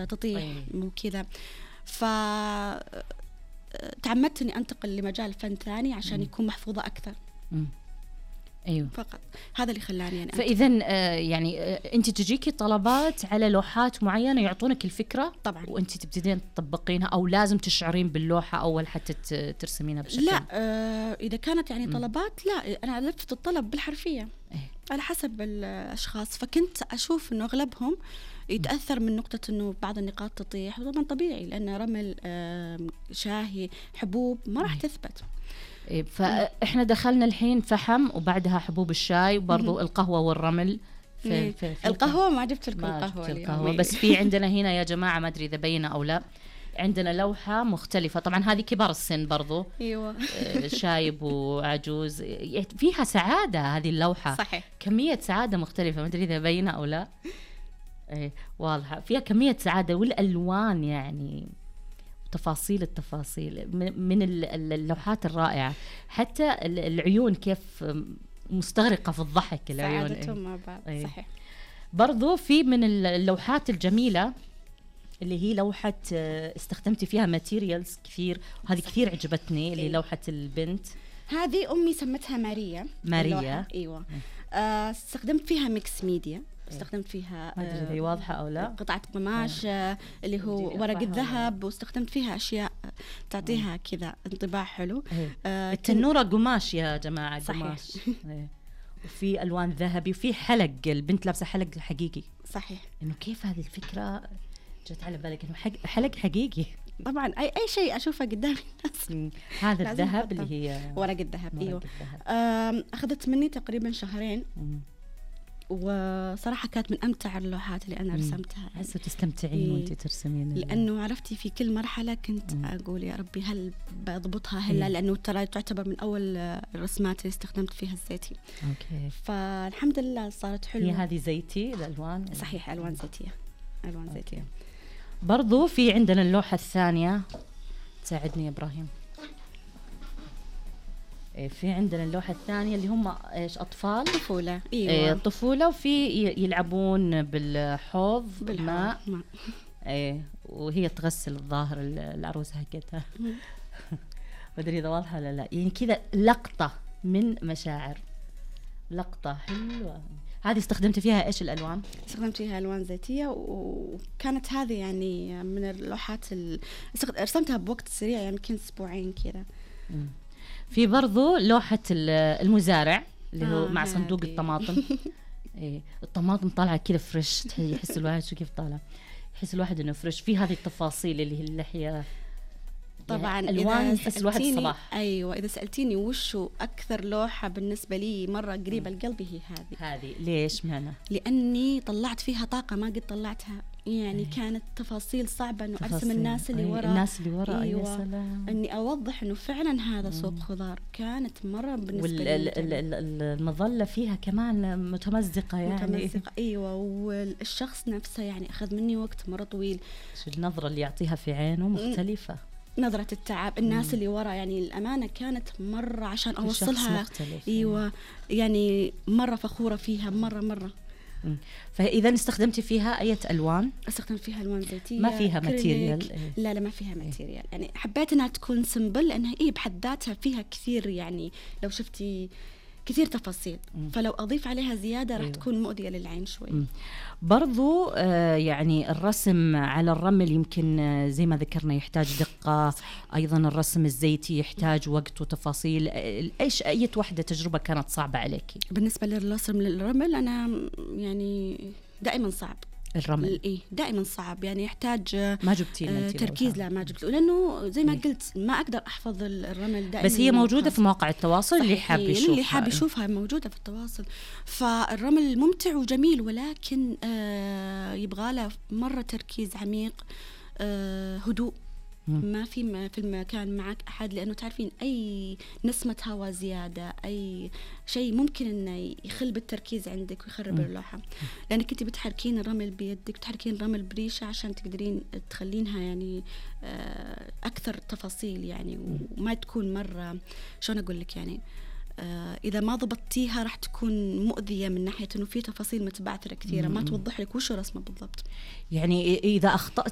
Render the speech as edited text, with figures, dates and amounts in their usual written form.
تطيح وكذا. فتعمدت إني أنتقل لمجال فن ثاني عشان يكون محفوظة أكثر. أيوه فقط هذا اللي خلاني يعني فإذا يعني أنت تجيكي طلبات على لوحات معينة يعطونك الفكرة طبعا، وأنت تبتدين تطبقينها، أو لازم تشعرين باللوحة أول حتى ترسمينها بشكل؟ لا إذا كانت يعني طلبات لا، أنا ألفت الطلب بالحرفية على حسب الأشخاص. فكنت أشوف إنه أغلبهم يتأثر من نقطة إنه بعض النقاط تطيح، وطبعا طبيعي لأن رمل شاهي حبوب ما راح تثبت. فإحنا دخلنا الحين فحم وبعدها حبوب الشاي وبرضو القهوة والرمل. في القهوة ما جبت لكم القهوة بس في عندنا هنا يا جماعة، ما أدري إذا بينا أو لا، عندنا لوحة مختلفة طبعا، هذه كبار السن برضو. أيوة. شايب وعجوز، فيها سعادة هذه اللوحة. صحيح. كمية سعادة مختلفة، ما أدري إذا بينا أو لا. واضحة، فيها كمية سعادة والألوان يعني تفاصيل التفاصيل من اللوحات الرائعة. حتى العيون كيف مستغرقة في الضحك، العيون سعادتهم مع بعض. صحيح. برضو في من اللوحات الجميلة اللي هي لوحة استخدمتي فيها ماتيريالز كثير، وهذه كثير عجبتني، اللي لوحة البنت هذه أمي سمتها ماريا. أيوة. استخدمت فيها ميكس ميديا، استخدمت فيها ما أدري هي واضحة أو لا، قطعة قماش اللي هو ورق الذهب، واستخدمت فيها أشياء تعطيها كذا انطباع حلو. التنورة قماش يا جماعة. صحيح. قماش. وفي ألوان ذهبي، وفي حلق، البنت لابسة حلق حقيقي. صحيح. إنه كيف هذه الفكرة جت على بالك إنه حلق حقيقي؟ طبعا أي شيء أشوفه قدامي الناس. هذا الذهب اللي هي ورق الذهب. أيوه. أخذت مني تقريبا شهرين، وصراحة كانت من أمتع اللوحات اللي أنا رسمتها. حسوا تستمتعين وأنت ترسمين، لأنه عرفتي في كل مرحلة كنت أقول يا ربي هل بضبطها هلا، لأنه ترى تعتبر من أول الرسمات اللي استخدمت فيها الزيتي. فالحمد لله صارت حلوة. هي هذه زيتي الألوان؟ صحيح، ألوان زيتية. ألوان زيتية. برضو في عندنا اللوحة الثانية، تساعدني يا إبراهيم. في عندنا اللوحة الثانية اللي هم إيش، أطفال طفولة. أيوة. طفولة، وفي يلعبون بالحوض ماء. وهي تغسل الظاهر العروس حقتها. ما أدري إذا واضحة ولا لا، يعني كذا لقطة من مشاعر، لقطة حلوة. هذه استخدمت فيها إيش الألوان؟ استخدمت فيها ألوان زيتية، وكانت هذه يعني من اللوحات رسمتها بوقت سريع، يعني يمكن أسبوعين كذا. في برضو لوحة المزارع اللي هو مع صندوق الطماطم. الطماطم طالعة كذا فريش، يحس الواحد شو كيف طالع، يحس الواحد إنه فريش. في هذه التفاصيل اللي هي اللحية طبعا. ألوان يحس الواحد صباح. أيوة. إذا سألتيني وشو أكثر لوحة بالنسبة لي مرة قريبة لقلبي، هي هذه. ليش معنا؟ لأني طلعت فيها طاقة ما قد طلعتها، يعني كانت تفاصيل صعبة إنه أرسم الناس اللي وراء. أيوة. يا سلام. إني أوضح إنه فعلا هذا سوق خضار. كانت مرة بالنسبة لي المظلة فيها كمان متمزقة يعني. متمزقة. أيوة. والشخص نفسه يعني أخذ مني وقت مرة طويل. النظرة اللي يعطيها في عينه مختلفة، نظرة التعب. الناس اللي ورا يعني الأمانة كانت مرة عشان أوصلها. أيوة. يعني مرة فخورة فيها مرة. فإذا استخدمتي فيها أي ألوان؟ استخدمت فيها ألوان زيتية. ما فيها ماتيريال؟ لا ما فيها ماتيريال. يعني حبيت أنها تكون سمبل، لأنها بحد ذاتها فيها كثير، يعني لو شفتي كثير تفاصيل، فلو أضيف عليها زيادة راح تكون مؤذية للعين شوي. برضو يعني الرسم على الرمل يمكن زي ما ذكرنا يحتاج دقة. أيضا الرسم الزيتي يحتاج وقت وتفاصيل. إيش أي وحدة تجربة كانت صعبة عليك؟ بالنسبة للرسم للرمل أنا يعني دائما صعب. الرمل دائما صعب، يعني يحتاج ما جبتي تركيز. لا ما جبت، لأنه زي ما قلت ما أقدر أحفظ الرمل دائما. بس هي موجودة في مواقع التواصل، اللي حاب يشوفها موجودة في التواصل. فالرمل ممتع وجميل، ولكن يبغى له مرة تركيز عميق، هدوء. ما في المكان معك أحد، لأنه تعرفين أي نسمة هواء زيادة، أي شيء ممكن إنه يخل بالتركيز عندك ويخرب اللوحة، لأنك أنت بتحركين الرمل بيدك، بتحركين الرمل بريشة عشان تقدرين تخلينها يعني أكثر تفاصيل، يعني وما تكون مرة شلون أقول لك، يعني إذا ما ضبطتيها راح تكون مؤذية من ناحية إنه في تفاصيل متبعثرة كثيرة ما توضح لك وش رسمه بالضبط. يعني إذا أخطأت